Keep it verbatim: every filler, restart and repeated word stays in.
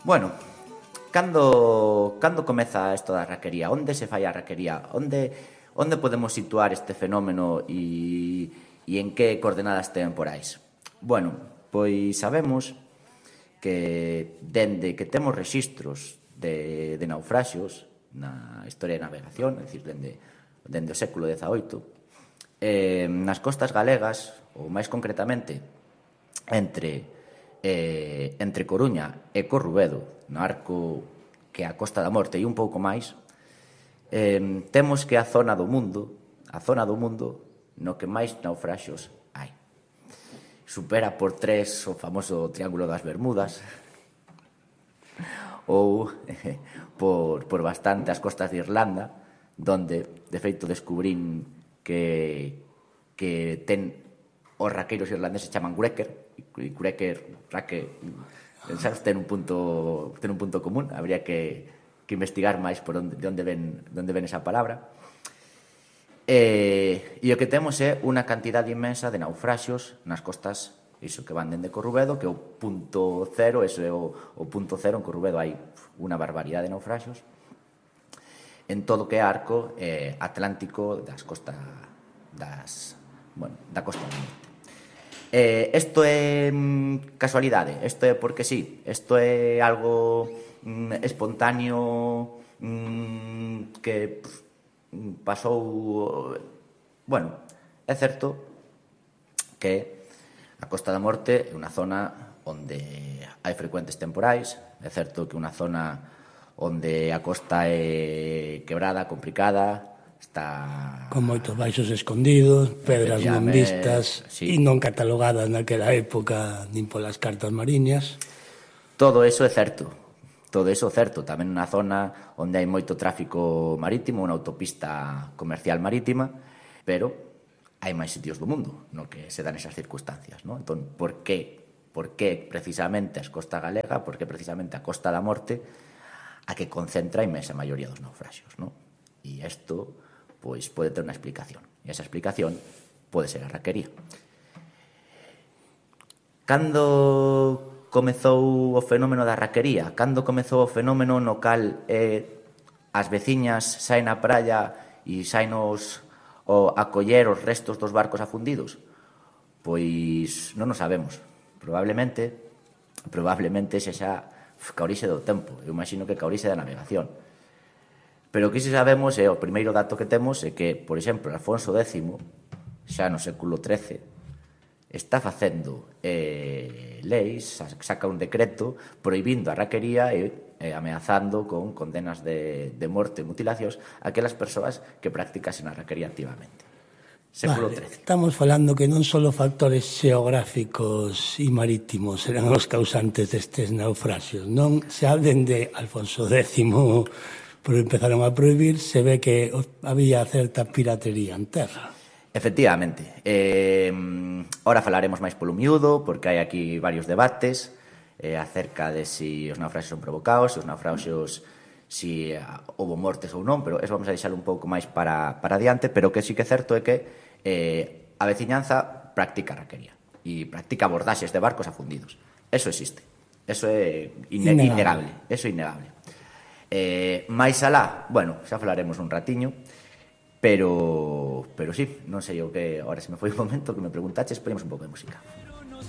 Bueno, cando, cando comeza isto da raquería? Onde se fai a raquería? Onde, onde podemos situar este fenómeno e, e en que coordenadas temporais? Bueno, pois sabemos que dende que temos rexistros de, de naufraxios na historia de navegación, é dicir, dende, dende o século dezaoito, eh, nas costas galegas, ou máis concretamente entre eh, entre Coruña e Corrubedo, no arco que é a Costa da Morte e un pouco máis, eh, temos que a zona do mundo, a zona do mundo no que máis naufraxios hai. Supera por tres o famoso Triángulo das Bermudas, ou eh, por, por bastante as costas de Irlanda, donde, de feito, descubrín que, que ten os raqueiros irlandeses chaman Gureker, e Gureker, raque, sabes, ten un punto, ten un punto común, habría que, que investigar máis por onde, de onde ven, de onde ven esa palabra. E, e o que temos é unha cantidade inmensa de naufraxios nas costas, iso que van dende Corrubedo, que é o punto cero, ese é o, o punto cero, en Corrubedo hai unha barbaridade de naufraxios, en todo o que é arco eh, atlántico das costas das, bueno, da costa do norte. Eh, isto é mm, casualidade, isto é porque sí, isto é algo mm, espontáneo mm, que pff, pasou. Bueno, é certo que a Costa da Morte é unha zona onde hai frecuentes temporais, é certo que é unha zona onde a costa é quebrada, complicada, está con moitos baixos escondidos, pedras non vistas, sí, e non catalogadas naquela época nin polas cartas mariñas. Todo eso é certo, todo eso é certo. Tamén unha zona onde hai moito tráfico marítimo, unha autopista comercial marítima, pero hai máis sitios do mundo no que se dan esas circunstancias, ¿no? Entón, por que, por que precisamente a costa galega, por que precisamente a Costa da Morte a que concentra a inmensa maioría dos naufraxios, ¿no? E isto pois pode ter unha explicación. E esa explicación pode ser a raquería. Cando comezou o fenómeno da raquería? Cando comezou o fenómeno no cal eh, as veciñas saen á praia e saen os, o, a coller os restos dos barcos afundidos? Pois non o sabemos. Probablemente, probablemente xa xa ca orixe do tempo. Eu imagino que ca orixe da navegación. Pero o que si sabemos é, o primeiro dato que temos é que, por exemplo, Alfonso décimo, xa no século trece, está facendo eh, leis, saca un decreto prohibindo a raquería e eh, ameazando con condenas de, de morte e mutilacións aquelas persoas que practicasen a raquería activamente. Século vale, trece. Estamos falando que non só factores xeográficos e marítimos eran os causantes destes naufraxios, non? Se hablen de Alfonso décimo, pero empezaron a prohibir, se ve que había certa piratería en terra. Efectivamente. Eh, ora falaremos máis polo miúdo, porque hai aquí varios debates eh, acerca de si os naufraxios son provocados, se os naufraxios si uh, houve mortes ou non, pero eso vamos a deixar un pouco máis para, para adiante, pero o que sí que é certo é que eh, a veciñanza practica raquería e practica abordaxes de barcos afundidos. Eso existe. Eso é ine- innegable. innegable. Eso é innegable. Eh, máis alá, bueno, xa falaremos un ratiño, pero pero sí, non sei o que, ahora se me foi un momento que me preguntaches, ponemos un pouco de música.